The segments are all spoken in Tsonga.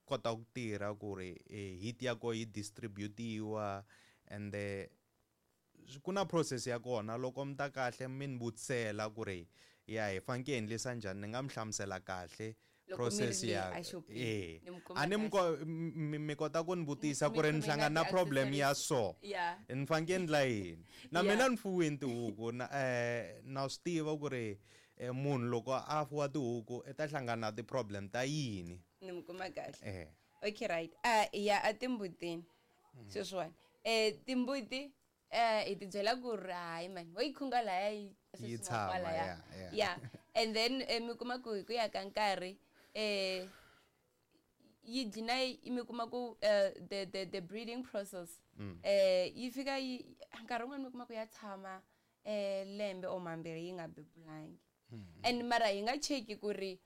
Kota ku tirha ku ri heat ya koho yi distribute-iwa, and ku na process ya kona. Loko mi ta kahle mi ni vutisela ku ri ya hi faneke hi endlisa njhani, ni nga mi hlamusela kahle. Loko mi process ri le ya a xopeni, ni mi kuma a ni mi kahle. mi kota ku ni vutisa Mi ku ri ni khome na hlangana na problem ya ti-accessories. so, ni faneke ndla yini na mina. Ni fuwini tihuku na na swi tiva ku ri munhu loko a fuwa tihuku i ta hlangana na ti-problem ta yini. Ni mi kuma kahle. Eh. Okay, right, ya a timbutini sweswiwani, timbuti hi ti byela ku ri hayi mani, wo yi khunga laya yi Yi tshama, kwalaya. Yeah. Yeah, and then mi kuma ku hi ku ya ka nkarhi yi dlina mi kuma ku the breeding process yi fika yi nkarhi wun'wani mi kuma ku ya tshama lembe or mambirhi yi nga bebulangi, and mara hi nga cheki ku ri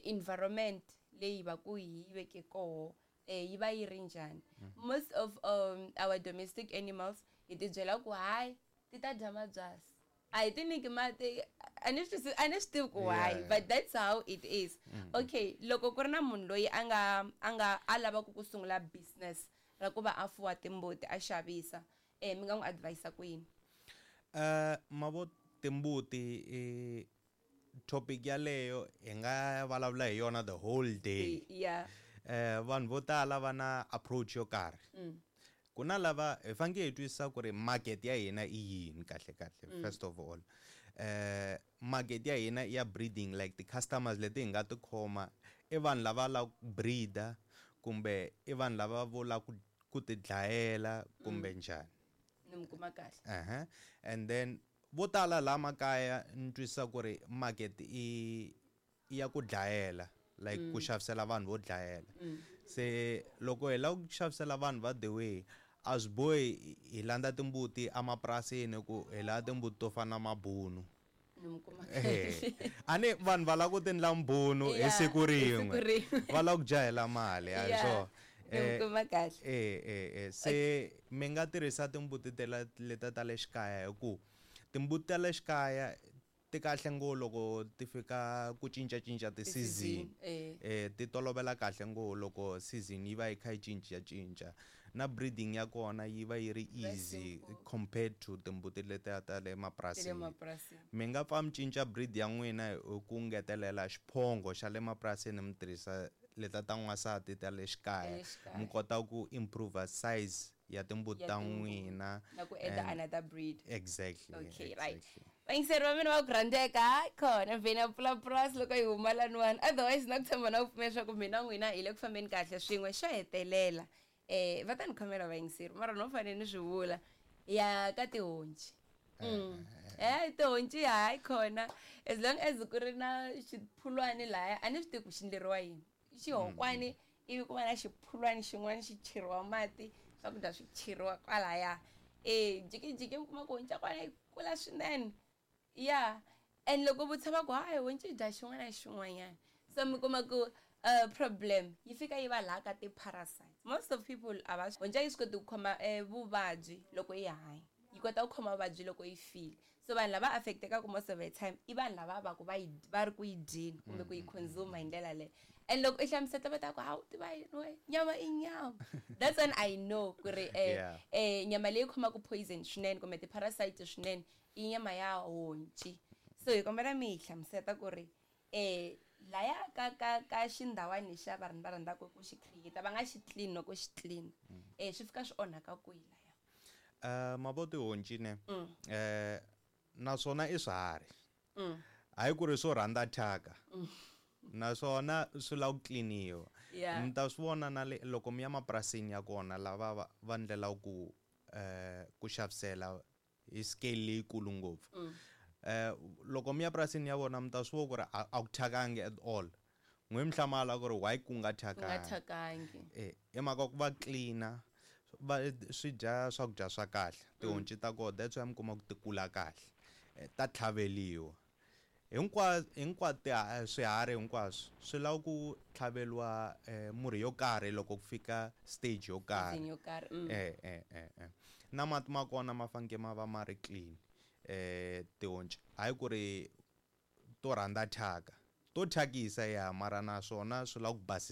environment leyi va ku hi yi veke koho yi va yi ri njhani. Most of our domestic animals hi ti byela ku hayi, ti ta dya mabyasi, a hi ti nyiki mati. A ni swi a ni swi tivi ku why, but that's how it is. Okay, loko ku ri na munhu loyi a nga a lavaka ku sungula business ra ku va a fuwa timbuti a xavisa, mi nga n'wi advise ku yini? Mavo timbuti i topic yaleyo hi nga vulavula hi yona the whole day. Vanhu vo tala va na approach yo karhi. Ku na lava hi faneke hi twisisa ku ri market ya hina i yini kahle kahle. First of all, market ya hina i ya breeding, like ti-customers leti hi nga ti khoma i vanhu lava lava ku breeder kumbe i vanhu lava vo lava ku ti dlayela kumbe njhani? Ni mi kuma kahle. And then vo tala laha makaya ni twisisa ku ri market i ya ku dlayela, like ku xavisela vanhu vo dlayela. Se loko hi lava ku xavisela vanhu va the way, a swi bohi hi landza timbuti emapurasini ku hi lava timbuti to fana na mabunu. Ni mi kuma Eh, kahle. A ni vanhu va lava ku ti endla mbunu hi siku Hi siku rin'we. Rin'we. Va lava ku jahela mali, a hi swona? Ni mi kuma kahle. Se mi nga tirhisa timbuti tela leta ta le xikaya, hi ku timbuti ta le xikaya ti kahle ngopfu loko ti fika ku cincacinca ti-season. Ti tolovela kahle ngopfu loko season yi va yi kha yi cincacinca, na breeding ya kona yi va yi ri easy Simple. Compared to timbuti letiya ta le Ta le mapurasini. Mapurasini. Mi nga pfa mi cinca breed ya n'wina hi ku ngetelela xiphongo xa le mapurasini, mi tirhisa leta ta n'wansati ta le xikaya, Le xikaya. Mi kota ku improve size ya timbuti Ya ta timbuti. n'wina. Na ku add another breed. Exactly. Okay, right. Exactly. Vayingiseri va mina va ku rhandzeka, khona vheni ya pfula purasi loko hi huma laniwani, otherwise na ku tshemba na ku pfumela leswaku mina n'wina hi le ku fambeni kahle swin'we. Xo hetelela, va ta ni khomela vayingiseri, mara no fanele ni swi vula ya ka tihonci. Tihonci hayi khona, as long as ku ri na xiphulwani laya, a ni swi tivi ku xi endleriwa yini xihokwani, ivi ku va na xiphulwani xin'wana xi cheriwa mati, swakudya swi cheriwa kwalaya, e jikijiki mi kuma ku honci ya kona yi kula swinene. Ya, and loko vutisa va ku hayi, honci yi dya xin'wana na xin'wanyana. So mi kuma ku problem yi fika yi va laha ka ti-parasites. Most of people a va honci a yi swi koti ku khoma vuvabyi loko yi hanya, yi kota ku khoma vuvabyi loko yi file. So vanhu lava affectekaka most of the time i vanhu lava va ku va yi va ri ku yi dyeni kumbe ku yi consume hi ndlela leyo. And loko i hlamuseta va ta ku hawu, tiva yini we, nyama i nyama. That's when I know ku ri nyama leyi khomaka poison swinene kumbe ti-parasite swinene i nyama ya honci. So hi kombela mi hi hlamuseta ku ri laya ka xindhawani xa vanhu va rhandzaka ku xi create, va nga xi clean, loko xi clean swi fika swi onhaka kwihi laya? Mavo tihonci ne, naswona i swiharhi, hayi ku ri swo rhandza thyaka, naswona swi lava ku tliniwa. Mi ta swi vona na le loko mi ya mapurasini ya kona, lava va ndlela ku xavisela hi scale leyikulu ngopfu. Loko mi ya purasini ya vona, mi ta swi vona ku ri a ku thyakangi at all. N'we mi hlamala ku ri why ku nga Ku nga thyakangi. Thyakangi. I mhaka ku va clean-a, va swi dya swakudya swa kahle tihonci ta kona, that's why mi kuma ku ti kula kahle. Ta tlhaveliwa hinkwato, swiharhi hinkwaswo swi lava ku tlhaveliwa murhi yo karhi loko ku fika stage yo karhi. Season yo karhi. Na mati ma kona ma faneke ma va ma ri clean. Tihonci hayi ku ri to rhandza thyaka, to thyakisa ya, mara naswona swi lava ku basisiwa.